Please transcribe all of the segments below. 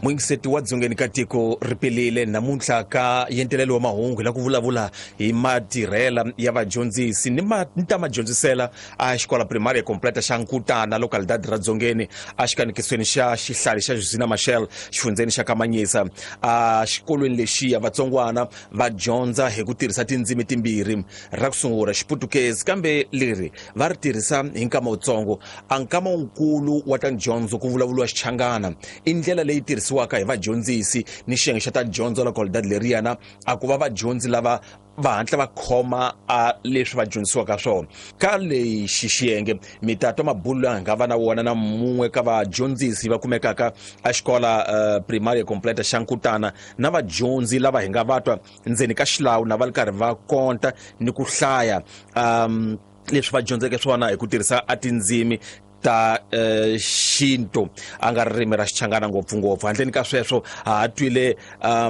Muyingiseti wa Dzongeni ka tiko ri pelile namuntlha ka yentelelo wa mahungu hi la ku vulavula hi matirhela ya vadyondzisi ni ni ta madyondzisela a xikola primaria completa xa Nkutana, localidade ra Dzongeni, a xikanikisweni xa xihlali xa Josina Machel, xifundzeni xa Kamanyisa. A xikolweni lexiya vatsongwana va dyondza hi ku tirhisa tindzimi timbirhi, ra ku sungula Xiputukezi, kambe leri va ri tirhisa hi nkama wutsongo. A nkama wukulu wa ta dyondzo ku vulavuriwa Xichangana. I ndlela leyi tirhisiwaka hi vadyondzisi ni xiyenge xa ta dyondzo localidade leriyana, a ku va vadyondzi lava va hatla va khoma a leswi va dyondzisiwaka swona. Ka lexi xiyenge mi ta twa mabulo lawa hi nga va na wona na mun'we ka vadyondzisi va kumekaka a xikola primaria completa xa Nkutana, na vadyondzi lava hi nga va twa ndzeni ka xilawu na va ri karhi va konta ni ku hlaya leswi va dyondzeke swona hi ku tirhisa a tindzimi ta xintu, a nga ririmi ra Xichangana ngopfungopfu. Handleni ka sweswo ha ha twile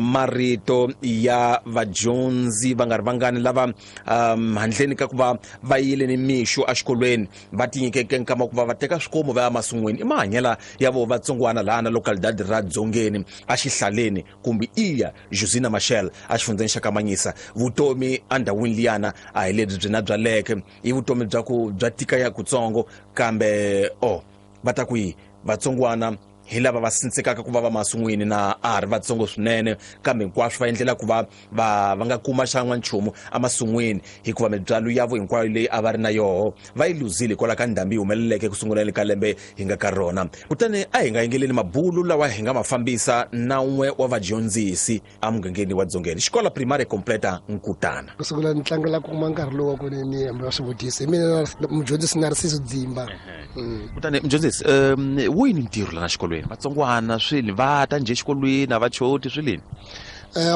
marito ya vadyondzi va nga ri vangani lava handleni ka ku va va yile ni mixo exikolweni va tinyikeke nkama wa ku va va teka swikomu va ya masin'wini. I mahanyela ya vo vatsongwana laha na localidade ra Dzongeni exihlaleni kumbe iya Josina Machel exifundzeni xa Kamanyisa. Vutomi endhawini liyana a hi lebyi byi na byaleke, i vutomi bya ku bya tika ya kutsongo, kambe o va ta ku yi vatsongwana hi lava va sindzekaka ku va va masin'wini na a ha ri vatsongo swinene, kambe hinkwaswo va endlela ku va va va nga kuma xan'wa nchumu emasin'wini, hikuva mibyalo yavo hinkwayo leyi a va ri na yoho va yi luzile hikwalaho ka ndhambi yi humeleleke ku sunguleni ka lembe hi nga ka rona. Kutani a hi nga yingeleni mabulu lawa hi nga ma fambisa na un'we wa vadyondzisi emugangeni wa Dzongeni, xikola primary completa Nkutana. Ku sungula ni tlangela ku kuma nkarhi lowu wa ku ni hambela swivutiso hi mina mudyondzisi Narciso Dzimba. Kutani mudyondzisi, wu yini ntirho lana xikolweni? Vatsongwana swini va ta njhe xikolweni, a va choti swilini?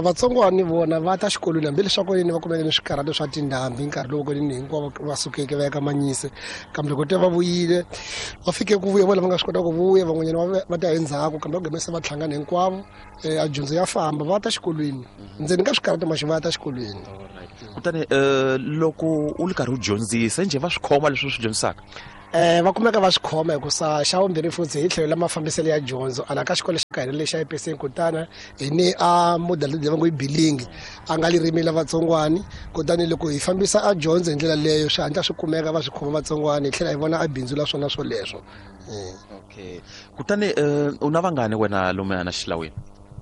Vatsongwana vona va ta xikolweni hambileswaku ni va kumeke ni swikarhato swa tindhambi nkarhi lowu ni hinkwavo va sukeke va ya ka Manyise, kambe loko te va vuyile va fike ku vuya vona va nga swi kota ku vuya, van'wanyana va ta endzhaku, kambe va gome se va hlangana hinkwavo. A dyondzo ya famba, va ta xikolweni ndzeni ka swikarhato maxi va ta xikolweni. Kutani loko u ri karhi u dyondzisa njhe va swi khoma leswi u swi dyondzisaka? Va kumeka va swi khoma, hikusa xa vumbirhi futhi hi tlhelo la mafambiselo ya dyondzo ala ka xikolo xa ka hina lexi xa EPC Nkutana, hi ni a model leyi va ngo i bilingi, a nga ririmi la vatsongwani. Kutani loko hi fambisa a dyondzo hi ndlela leyo, swi hatla swi kumeka va swi khoma vatsongwani, hi tlhela hi vona a bindzu la swona swoleswo. Okay, kutani u na vangani wena lomu na xilawini?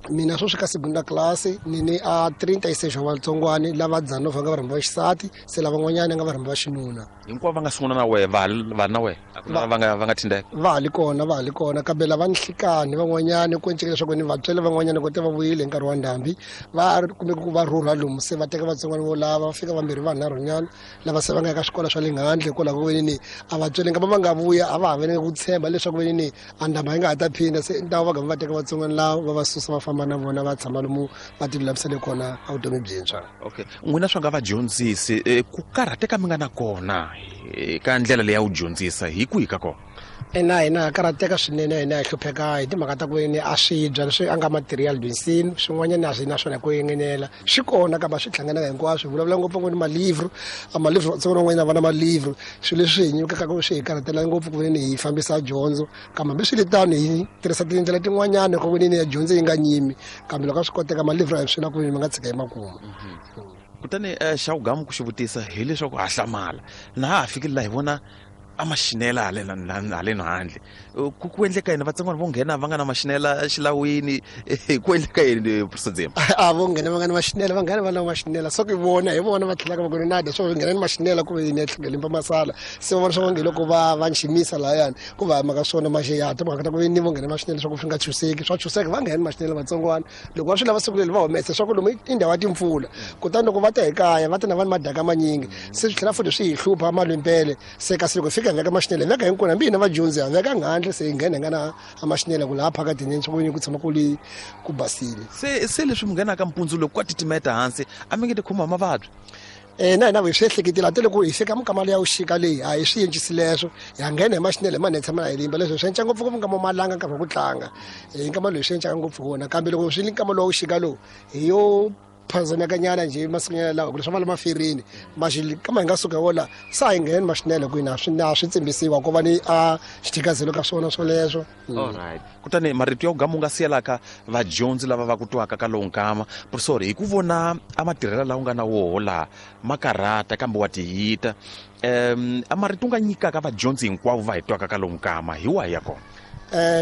Mina sweswi ka segunda class ni ni a 36 wa vatsongwani, lava dzanova nga varhambi va xisati, se lavan'wanyana nga varhambi va xinuna. Hinkwavo va nga sungula na wehe va va na wehe, a ku na va nga thindeka? Va ha li kona, va ha li kona, kambe lava ni nhlikani van'wanyani ku enceke leswaku ni vatswele van'wanyana ko te va vuyile hi nkarhi wa ndhambi, va kumeke ku va rhurha lomu, se va teka vatsongwana vo lava va fika vambirhi vanharhunyana lava se va nga ka swikolo swa le handle, hikwalaho ko ni a vatswele nkama va nga vuya a va ha veni ku tshemba leswaku veni ni a ndhambi yi nga ha ta phinda, se ntawo va gama va teka vatsongwana lava va va susa va famba na vona va tshama lomu va ti lulamisele kona a vutomi byintshwa. Okay, n'wina swa nga vadyondzisi, ku karhateka mi nga na kona ka ndlela leyi ya wu dyondzisa hi kwihi ka kona? Ina, hina ha karhateka swinene, hina hi hlupheka hi timhaka ta ku ni a swibya leswi a nga material dyondzisini swin'wanyana a swi na swona ku engenela swi kona, kambe a swi hlangananga hinkwaswo. Hi vulavula ngopfu ngo ni malivro, a malivro vatsongo van'wanyana va na malivro, swilo leswi hi nyikaka swi hi karhatela ngopfu ku veni hi fambisa dyondzo. Kambe hambiswiritano hi tirhisa tindlela tin'wanyana ku veni ya dyondzo yi nga nyimi, kambe loko a swi koteka malivro a hi swi na ku veni ma nga tshika hi makumu. Kutani xa wugamu ku xi vutisa hileswaku ha hlamala na ha ha fikile laha hi vona a maxinela haleno handle, ku endleka yini? Vatsongwana vo nghena va nga na maxinela xilawini, ku endleka yini, Professor? A vo nghena va nga na maxinela, va nghena va na maxinela, so ku vona hi vona va tlhelaka va ku nada swo nghena ni maxinela ku ni tlhela limba masala, se va vona swa nge loko va va nximisa lahayani ku va mhaka swona maxe ya timhaka ta ku ni vo nghena maxinela swa ku swi nga chuseki, swa chuseka va nghena maxinela vatsongwana loko va swi lava siku leri va humesa swa ku lomu i ndhawu ya timpfula. Kutani loko va ta hi kaya va ta na va ni madaka manyingi, se swi tlhela futhi swi hi hlupha malimpele, se kasi loko hi fika hi veka maxinele, hi veka hinkwenu, hambi hina vadyondzi ha veka nghandle, se hi nghena hi nga na a maxinele ku laha phakatini swa ku ku tshama ku li ku basile. Se leswi mi nghenaka mpundzu loko ka titimeta hansi, a mi nge ti khomiwa hi mavabyi? Na hina hi swi ehleketile ate loko hi fika minkama ya vuxika leyi a hi swi encisi leswo, ha nghena hi maxinele hi manene tshama na hi limba leswo swi enca ngopfu ngopfu nkama malanga nkarhi wa ku tlanga, hi nkama lowu swi encaka ngopfu wona, kambe loko swi li nkama lowu wa vuxika lowu hi yo phazamekanyana njhe masikunyana lawa ku leswi va le maferini maxi kama hi nga suka wola sa hi ngheni maxinele ku ina swi na swi tsimbisiwa ko va ni a xithikazelo ka swona swoleswo. Alright, kutani marito ya ku gama u nga siyelaka vadyondzi lava va ku twaka ka lowu nkama, professor, hi ku vona a matirhela lawa u nga na woho laha ma karhata kambe wa tiyita, a marito u nga nyikaka vadyondzi hinkwavo va hi twaka ka lowu nkama hi wahi ya kona?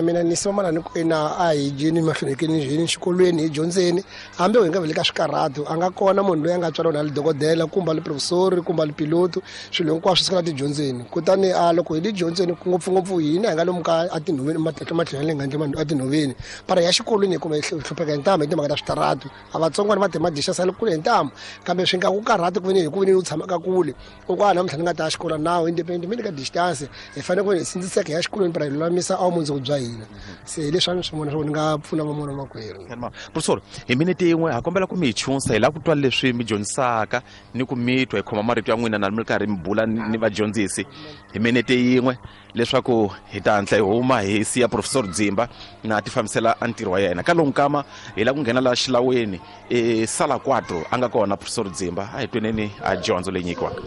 Mina ni sima ni ku ina a hi dyeni mahlweni hi xikolweni hi dyondzeni hambi hi nga vele ka swikarhatu a nga kona munhu loyi a nga tswariwa na le dokodela kumbe le professori kumbe le piloto, swilo hinkwaswo swi sukela tidyondzeni. Kutani a loko hi le dyondzeni ngopfungopfu hina hi nga lomu ka a tinhoveni matlhelo ya le ngandle a tinhoveni para ya xikolweni hi kuma hi hlupheka hi ntamu hi timhaka ta switaratu a vatsongwana va timadisha sale kule hi ntamu kambe swi nga ku karhati ku veni hi ku veni u tshamaka kule u ku a namuntlha ni nga ta ya xikolo nawu independent mi le ka distance hi fanele ku hi sindziseka hi ya xikolweni para hi lulamisa a vumundzuku bya hina. Se hi leswi a ni swi vona swa ku ni nga pfuna van'wana makwerhu. Professor, hi minete yin'we ha kombela ku mi hi chunsa, hi lava ku twa leswi mi dyondzisaka ni ku mi twa hi khoma marito ya n'wina na mi ri karhi mi bula ni vadyondzisi hi minete yin'we leswaku hi ta hatla hi huma hi siya Professor Dzimba na ti fambisela a ntirho wa yena. Ka lowu nkama hi lava ku nghena laha xilaweni e sala 4 a nga kona Professor Dzimba, a hi tweneni a dyondzo leyi nyikiwaka.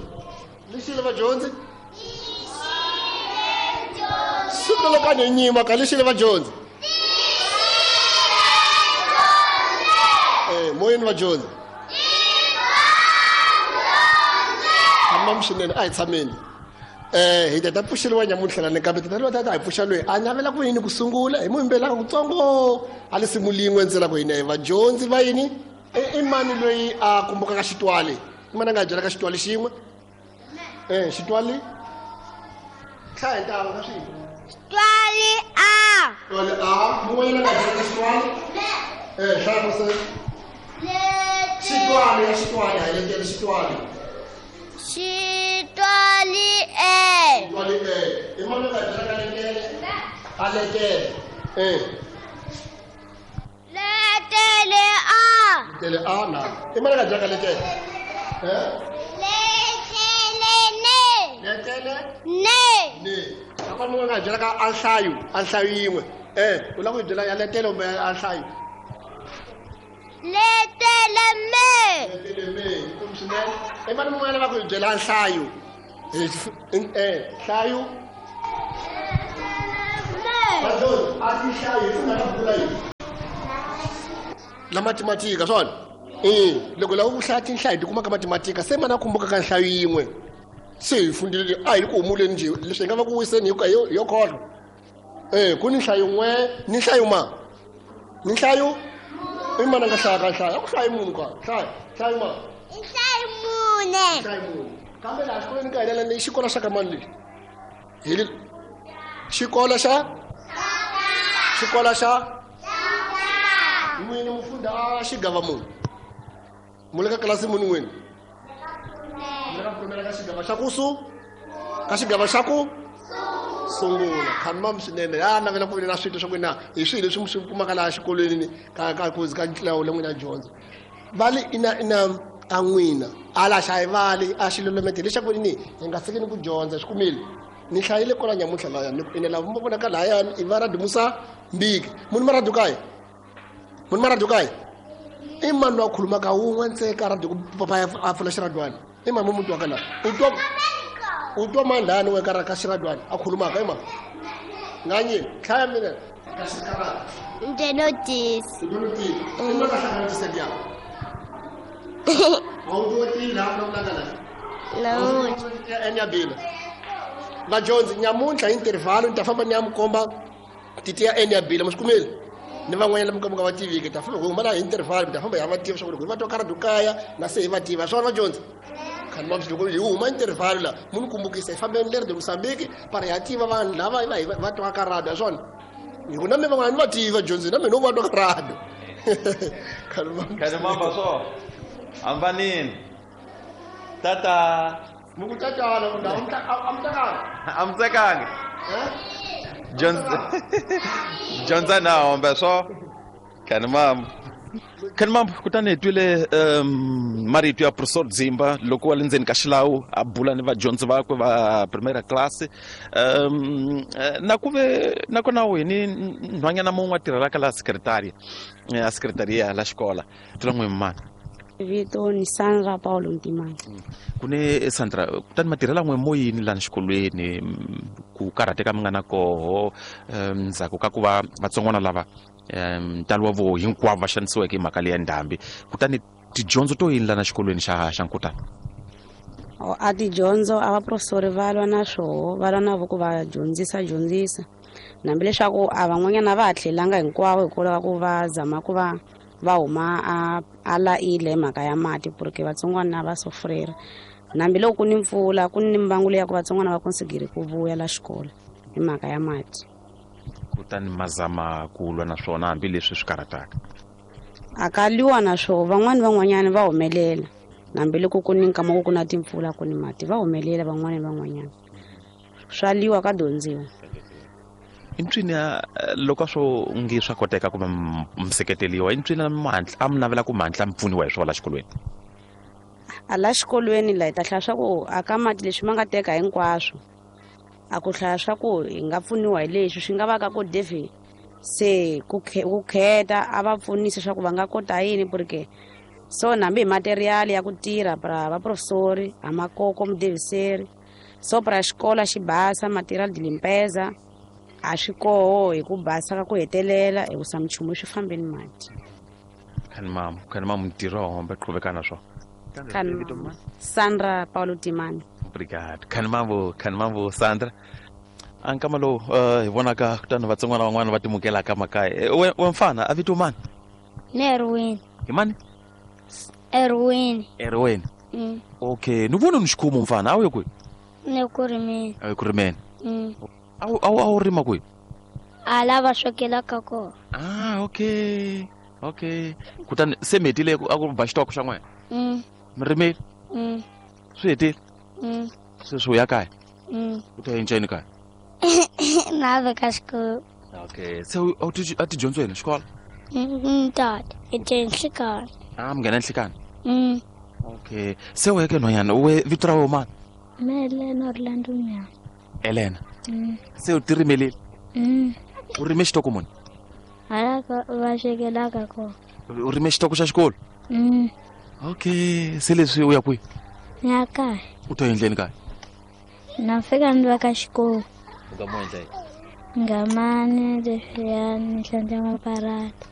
Lexile vadyondzi, siku loko a ni nyima ka lexile vadyondzi, moyeni vadyondzi tshama swinene, a hi tshameni. Hi ta pfuxeriwa nyamuntlha lani kambe tata tata hi pfuxa loyi a navela ku yini ku sungula hi muyimbelaka kutsongo a lisimu lin'we ntsena ku hina hi vadyondzi va yini. I mani loyi a kumbukaka xitwali? I mani a nga byelaka xitwali xin'we? Xitwali hlaya hi ntanga ka swin'we. Xitwali a. Xitwali a. Mun'wanyana a nga byelaka xitwali? Hlaya ku se. Xitwali ya xitwali a hi letele xitwali. Xitwali e. Xitwali e. I mani a nga byelaka letele? A letele. Letele a. Letele a na. I mani a nga byelaka letele? Letele ne. Letele ne. Ne. A ku munhu a nga byelaka a nhlayo, a nhlayo yin'we. U lava ku yi byela ya letele kumbe a nhlayo? Letele me. Letele me, kumbe swinene. I mani mun'wana a lava ku yi byela nhlayo? Nhlayo. Vadyondzi, a ti nhlayo hi pfuna ka buku yini? La matematika swona? Loko lava ku hlaya tinhlayo ti kuma ka matematika, se mana kumbuka ka nhlayo yin'we. Se hi fundile a hi ku humuleni njhe leswi hi nga va ku wiseni hi yo kholwa. Ku ni nhlayo n'we ni nhlayo ma. Ni nhlayo? I mana nga hlaya ka nhlayo? A ku hlayi munhu ka. Hlaya, nhlayo ma. Nhlayo mune. Nhlayo mune. Kambe laha xikolweni ka hina ni xikolo xa ka mani lexi? Hi le xikolo xa? Xikolo xa? N'wini mufunda a xigava munhu. Mu le ka tlilasi muni n'wini? Mu le ka pfumela ka xigava xa ku su? Ka xigava xa ku? Sungula. Khanimam swinene. Ya navela ku na swito swa ku na hi swilo leswi mi swi kumaka laha xikolweni ka ka ku ka ntlawa le n'wina dyondza. Vali ina ina a n'wina ala xa hi vali a xilolomete lexaku ni hi nga tshikini ku dyondza swi kumile. Ni hlayile kwala nyamuntlha laya ni ku ina lava mi vonaka lahayani i va radio Musa Mbiki. Munhu ma radio kaye? Munhu ma radio kaye? I mani loyi a khulumaka wun'we ntsena ka radio ku papa a pfula xiradiwana? I mani munhu wa ka laha? U twa mani lahani wena ka xiradiwana a khulumaka? I mani? Nganye, hlaya mina. Ka xiradiwana. Njenotisi. Njenotisi. I mani a hlanganisa liya? A wu twa tini laha vulavulaka laha? Namuntlha. Enyabila. Vadyondzi, nyamuntlha hi intervalo ni ta famba ni ya mi komba titiya enyabila, mi swi kumile? Ni van'wanyana mi ka va tiviki, ta famba huma laha hi intervalo, mi ta famba hi va tiva swa ku loko hi va twa karhi kaya na se hi va tiva. Swona vadyondzi? Khani ma loko hi huma intervalo la, mu ni kumbukisa hi fambeni leri de Mozambique, para hi ya tiva vanhu lava hi va twa ka radio, swona? Hi ku na mi van'wana ni va tiva dyondzi, na mina u va twa ka radio. Khani ma Khani mamba swo. Hambanini. Tata. Mi ku tatana, ku ndhawu a mi tsakangi? A mi tsakangi? Dyondza na hombe swo. Khani mamba. Khani mamba, kutani hi twile marito ya Professor Dzimba loko wa le ndzeni ka xilawu a bula ni vadyondzi vakwe va primary class. Na ku ve nakona hi ni nhwanyana mun'we a tirhelaka laha secretary, a secretary ya la xikola. Tlula n'wi mani? Vito ni Sandra Paulo Ntimani. Ku ne Sandra, kutani matirhelo n'we moyini lani xikolweni, ku karhateka mi nga na koho ndzhaku ka ku va vatsongwana lava ntalo wa vo hinkwavo va xanisiweke hi mhaka leya ndhambi, kutani tidyondzo to yini lana xikolweni xa Nkutana? A tidyondzo a vaprofesori va lwa na swoho, va lwa na vo ku va dyondzisa hambi leswaku a van'wanyana va ha tlhelanga hinkwavo hikwalaho ka ku va zama ku va va huma a laile hi mhaka ya mati, porque vatsongwana va sofrera. Hambi loko ku ni mpfula, ku ni mbangu leya ku vatsongwana va konsigiri ku vuya la xikolo hi mhaka ya mati. Kutani mazama ku lwa na swona hambileswi swi karhataka. A ka lwiwa na swoho, van'wani van'wanyana va humelela. Hambi loko ku ni nkama ku na timpfula ku ni mati, va humelela van'wani van'wanyana. Swa lwiwa ka dyondziwa. I ntswini loko swo nge swa koteka ku va mi seketeliwa, i ntswini a mi navela ku mantla mi pfuniwa hi swona la xikolweni? A la xikolweni la hi ta hlaya swa ku a ka mati leswi ma nga teka hinkwaswo, a ku hlaya swa ku hi nga pfuniwa hi leswi swi nga va ka ku devi se ku kheta a va pfunisa swa ku va nga kota yini, porque so hambi hi material ya ku tirha pra vaprofesori a makoko mudeviseri, so pra xikolo xi basa material de limpeza a swi koho hi ku basa ka ku hetelela hikusa minchumu swi fambeni mati. Khani mamu ntirho wa hombe qhuveka na swona. Khani Sandra Paulo Timani. Obrigado. Khani mambo Sandra. A nkama lowu hi vonaka kutani vatsongwana van'wana va timukelaka makaya. We mfana, a vito mani? Ni Erwin. Hi mani? Erwin. Erwin. Mm. Okay, ni vona ni xikhumu mfana, a wu ye kwihi? Ni ku rimeni. A wu ye ku rimeni. Mm. A wu rima kwihi? A lava swekelaka kona. Ah, okay. Okay. Kutani se mi hetile a ku ba xitoko xa n'wina? Mm. Mi rimile? Mm. Swi hetile? Mm. Sweswi u ya kaya? Mm. U ta endla yini kaya? Na ve ka xikolo. Okay. Se a wu ti a ti dyondzo yini xikolo? Mm, tata. Hi te nhlikani. Ah, mi nghena nhlikani. Mm. Okay. Se weke nhwanyana, we vito ra wena mani? Me Elena Orlando Nyama. Elena. Mm. Se u ti rimelile? Mm. U rime xitoko muni? Hala va swekelaka kona. U rime xitoko xa xikolo? Mm. Okay. Se leswi u ya kwihi? Ni ya kaya. U ta endleni kaya? Na fika ni va ka xikolo. U nga mo endla yini? Ngamani leswiya ni hlantswa maparata.